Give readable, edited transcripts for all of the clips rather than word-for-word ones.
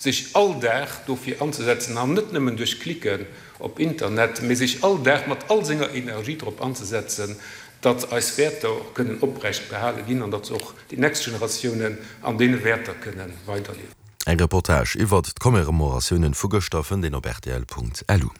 Sech all Dag dofir anzesetzen, an net nëmmen duerch Klicken op Internet, mee sech all Dag mat all senger Energie drop anzesetzen, datt eis Wäerter och kënnen oprecht behale ginn an datt se och déi nächst Generatiounen an deene Wäerter kënne weiderliewen. Eng Reportage iwwert d'Commemoratiounen vu gëschter fënnt een op rtl.lu.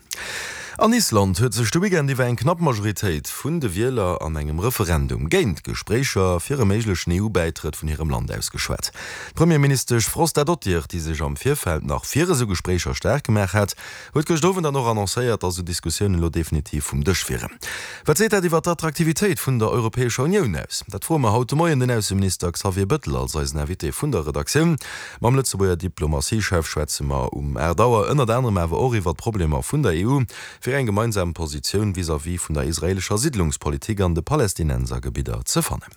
An Island huet sech de Weekend iwwer eng knapp Majoritéit vun de Wieler an engem Referendum géint Gespréicher fir e méiglechen EU-Bäitrëtt vun hirem Land ausgeschwat. D'Premierministesch Frostadottir, déi sech am Virfeld nach fir esou Gespréicher staark gemaach hat, huet gëscht Owend dann och annoncéiert, datt esou Diskussiounen elo definitiv vum Dësch wieren. Wat seet dat iwwer d'Attraktivitéit vun der Europäescher Unioun aus? Dat froe mer haut de Moien den Ausseminister Xavier Bettel als eisen Invité vun der Redaktioun. Mam Lëtzebuerger Diplomatiechef schwätze mer um 8 Auer ënnert anerem awer och iwwer d'Problemer vun der EU fir eng gemeinsam Positioun vis-à-vis vun der israeelescher Siddlungspolitik an de Palästinensergebidder ze fannen.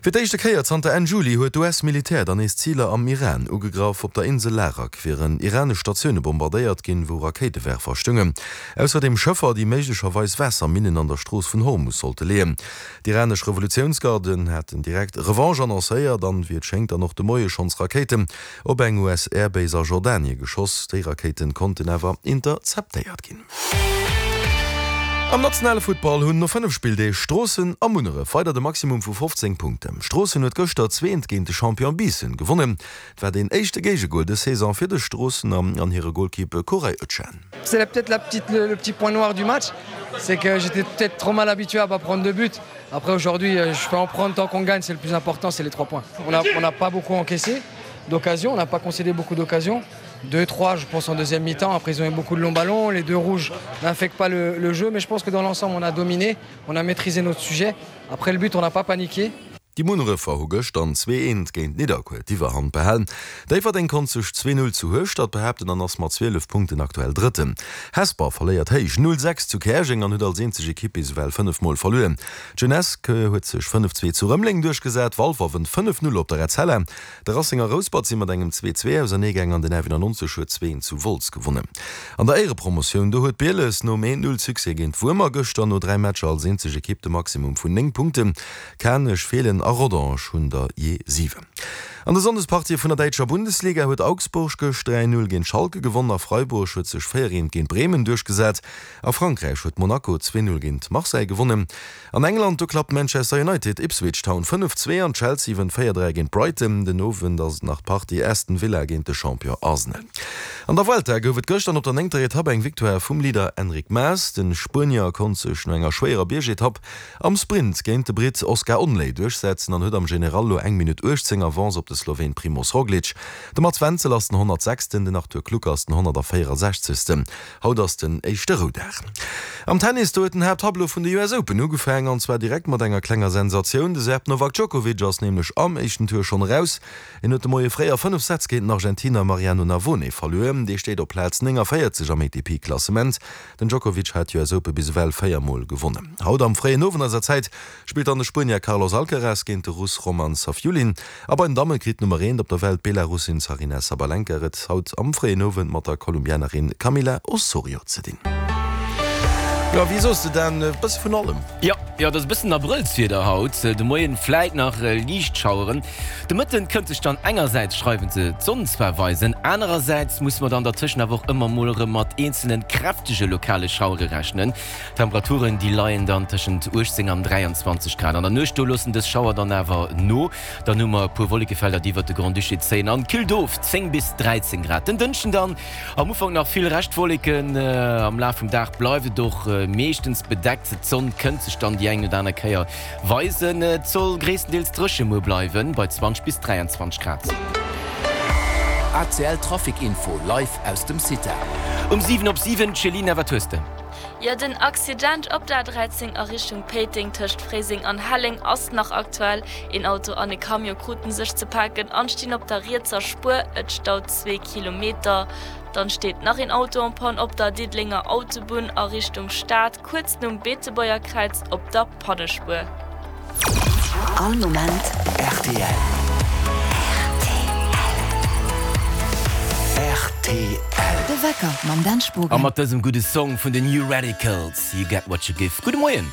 Fir d'éischte Kéier zanter Enn Juli huet d'US-Militär dann nees Ziler am Iran ugegraff. Op der Insel Larak wieren iranesch Statioune bombardéiert ginn, wou Rakéitewerfer stungen. Ausserdeem Schëffer, déi méiglecherweis Waasserminnen an der Strooss vun Hormus sollte leeën. D'iranesch Revolutiounsgarden haten direkt Revanche annoncéiert an, wéi et schéngt, dann och de Moie schonns Rakéiten op eng US-Airbase a Jordanie geschoss. Déi Rakéiten konnten awer interceptéiert ginn. Am nationale Futtball hunn no 5 Spilldeeg Stroossen a Munneref weider de Maximum vu 15 Punkten. Stroossen huet gëschter zweent géint de Champion Biissen gewonnen. Et war deen éischte Géigegol dës Saison fir de Stroossener an hire Golkipp Koray Ötschan. C'est peut-être la petite le petit point noir du match, c'est que j'étais peut-être trop mal habitué à pas prendre de but. Après aujourd'hui, je peux en prendre tant qu'on gagne, c'est le plus important, c'est les trois points. On a on n'a pas beaucoup encaissé d'occasions, on n'a pas concédé beaucoup d'occasions. Deux, trois, je pense en deuxième mi-temps. Après ils ont eu beaucoup de longs ballons, les deux rouges n'infectent pas le, le jeu, mais je pense que dans l'ensemble on a dominé, on a maîtrisé notre sujet. Après le but, on n'a pas paniqué. Déi Munnerefer hu gëschter 2, 1 géint Nidderkuer d'Iwwerhand behalen. Déifferdeng konnt sech 2, 0 zu Hueschtert behaapten an ass mat 12 Punkten aktuell Drëtten. Hesper verléiert héich 0, 6 zu Käerjeng an huet als eenzeg Ekipp bis ewell 5 Mol verluer. D'Jeunesse huet sech 5, 2 zu Rëmeleng duerchgesat, Walfer wënnt 5, 0 op der Etzella. De Racing a Rouspert si mat engem 2, 2 auserneegaang an den F91 huet 2, 1 zu Wolz gewonnen. An der Éierepromotioun, do huet Bieles nom 1, 0 Succès géint Wuermer gëschter no 3 Matcher als eenzeg Ekipp de Maximum vun 9 Punkten. Kanech, Feelen a Rodange hunn der jee 7. An de Sonndespartië vun der däitscher Bundesliga huet Augsburg gëscht 3, 0 géint Schalke gewonnen a Freiburg huet sech 4, 1 géint Bremen duerchgesat. A Frankräich huet Monaco 2, 0 géint Marseille gewonnen. An England, do klappt Manchester United Ipswich Town 5, 2 an Chelsea wënnt 4, 3 géint Brighton. Den Owend ass et nach d'Partie Aston Villa géint de Champion Arsenal. An der Vuelta gouf et gëschter op der néngter Etapp eng Victoire vum Leader Enric Mas. De Spuenier konnt sech no enger schwéierer Biergetapp am Sprint géint de Britt Oscar Onley duerchsetzen an huet am General lo eng Minutt 18 Avance op de Sloween Primoz Roglic. De Mats Wenzel ass den 106., den Arthur Kluck ass den 164. Haut ass den éischte Roudag. Am Tennis, do huet den Haapttableau vun de US Open ugefaangen, an zwar direkt mat enger klenger Sensatioun. De Serb Novak Djokovic ass nämlech am éischten Tour schonn eraus. En huet de Moie fréi a 5 Sätz géint den Argentiner Mariano Navone verluer. Dee steet op Plaz 49 am ATP-Klassement. Den Djokovic hat d'US Open bis ewell 4 Mol gewonnen. Haut am fréien Owend eiser Zäit spillt dann de Spuenier Carlos Alcaraz géint de Russ Roman Safiullin. A bei den Damme kritt d'Nummer eent op der Welt, d'Belarussin Zaryna Sabalenka, et haut am fréien Owend mat der Kolumbianerin Camila Osorio ze dinn. Jo, wéi soos de Dan, e bësse vun allem. Jo, jo, et ass e bëssen Abrëllswieder haut. De Moien vläit nach liicht Schaueren. De Mëtten kënnt sech dann engersäits schreiwen se d'Sonn zwar weisen, anerersäits musse mer dann dertëschent awer och ëmmer mol erëm mat eenzelen kräftege lokale Schauere rechnen. D'Temperaturen déi leien dann tëschent 18 an 23 Grad. An der Nuecht do loossen dës Schauer dann awer no, dann hu mer e puer Wollekefelder déi iwwert de Grand-Duché zéien an killt of 10 bis 13 Grad. Den Dënschden dann am Ufank nach vill Reschtwolleken, am Laf vum Dag bleift et och meeschtens bedeckt, d'Sonn kënnt sech dann déi eng oder aner Kéier Weisen. Et soll gréisstendeels dréche muer bleiwen, bei 20 bis 23 Grad. ACL Trafic Info live aus dem CITA. Um 7 op 7, Céline, wat hues de? Jo, den Accident op der A13 a Richtung Péiteng tëscht Fréiseng an Helleng ass nach aktuell. Een Auto an e Camion kruten sech ze paken an stinn op der rietser Spuer. Et staut zwee Kilometer. Dann steet nach een Auto en panne op der Diddelenger Autobunn a Richtung Stad. Kuerz nom Beetebuerger Kräiz op der Pannespuer. All Moment rtl. Rtl. De Wecker mam Dan Spogen. A mat dësem gudde Song vun den New Radicals, You Get What You Give. Gudde Moien!